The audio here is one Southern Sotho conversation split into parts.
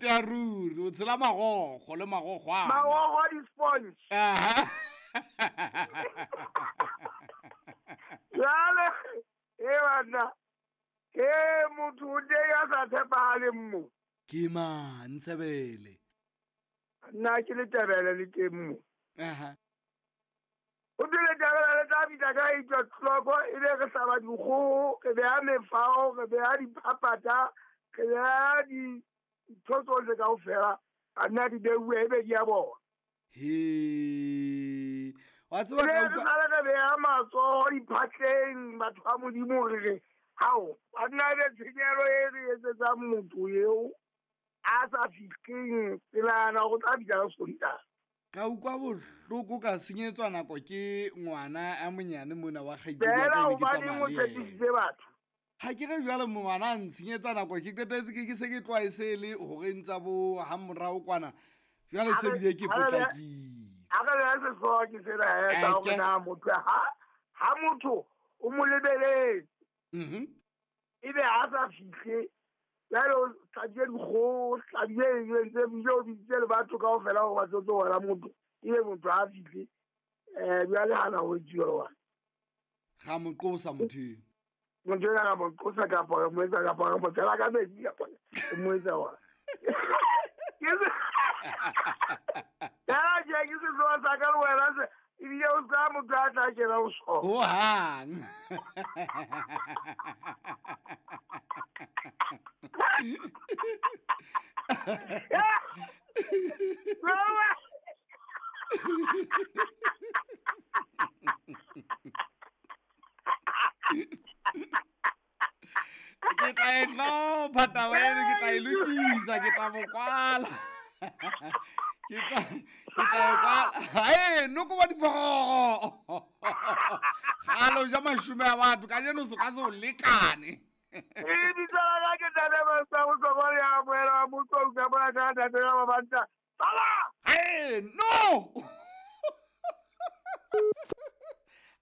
Ya ruri, o tshela magogo le magogwana. Magogo a di-sponge. Aha. Jale e banna, e motho o teng a sa tshepagaleng mo. Ke mang, Ntshebele? Nna ke Letebele le teng mo. Aha. O twe Letebele le tla fihla ka 8 o'clock, e be re hlaba dikgoho, re beha mefao, re beha diphaphatha, re beha dintho tsohle kaofela, banna di beuwe, e be di a bona. He. Wa tseba E be ka re utlwa sale re beha matsoho diphatleng, batho ba Modimo, re re hao banna, e be tshenyehelo e re etsetsang motho eo a sa fihleng tselana go tla fihla ka Sontaha. Ka utlwa bohloko, ka senyetswa nako ke ngwana a monyane mona wa kgaitsedi ya Fela ka, e ne ke hobaneng tsamaya o le yena. tshepisitse batho? Ha ke re jwale ngwana a ntshenyetsa nako, ke qetetse ke se ke tloha e se le horeng tsa bo ha morao kwana. Jwale se bile ke potlakile. A re beha sehlooho ke sena he, sa hore Eke. na motho ha motho o mo lebeletse, ebe ha sa fihle, jwale o hlabile dikgoho, o hlabile eng, o entse bile o bitsitse le batho kaofela hore ba tlo tlo bona motho, ebe motho ha fihle, jwale hana ho etsuwa jwang? Ra mo qosa motho eo. Motho ena ra mo qosa kapa re mo etsa, kapa re mo tshela ka metsi, kapa re mo etsa jwang? Ke se- Fela tje, ke sehlooho sa ka le wena se, ebile o ska motho a tla kena ho sona. Hohang. Ke tla e hlopha taba eno, ke tla e lokisa, ke tla mo kwala. Ke tla e kwala. Hae, noko wa diphororo. Kgale o ja mashome a batho, kajeno se ka se o lekane. E bitso la ka ke Ntate Masa Bohlokwa, le ya amohela wa motho o ka bona ka ntate ya ba banta. Baba! Hae, no!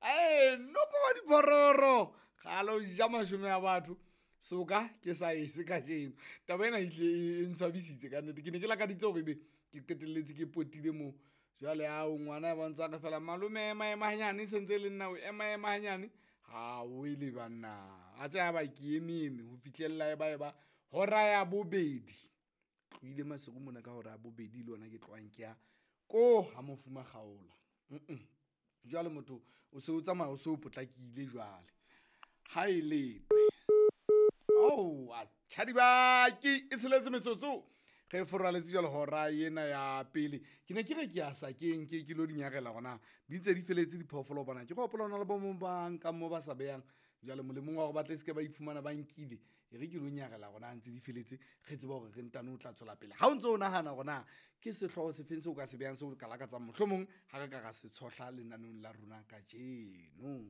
Hae, noko wa diphororo. Kgale o ja mashome a batho. Soka ke sa ese kajeno. Taba ena e hlile e ntshwabisitse ka nnete. Ke ne ke lakaditse hore ebe ke qetelletse ke potile moo. Jwale ao ngwana ya bontsha re fela malome ema ema hanyane, se ntse e le nna o ema ema hanyane. Ha o e le banna. A tse ba ke eme eme ho fihlella e ba e ba hora ya bobedi. Tlohile Maseru mona ka hora ya bobedi le yona ke tlohang ke ya ko ha mofuma kgaola. Jwale motho o se o tsamaya o se o potlakile jwale. Ha e letwe. Oh, a tjhadibaki e tsheletse metsotso. Re foraletse jwale hora ena ya pele. Ke ne ke re ke ya sakeng, ke lo dinyarela hore na di ntse di feletse diphoofolo bona. Ke gopola hona le bo mong ba nkang mo ba sa behang. Jwale molemong wa hore ba tle se ke ba iphumana ba nkile, e re ke lo nyarela hore na ntse di feletse, re tsebe hore re ntano o tla tswela pele. Ha o ntso o nahana hore na ke sehlooho se feng seo o ka se behang seo o ka lakatsang mohlomong ha re ka ra se tshohla lenaneong la rona kajeno.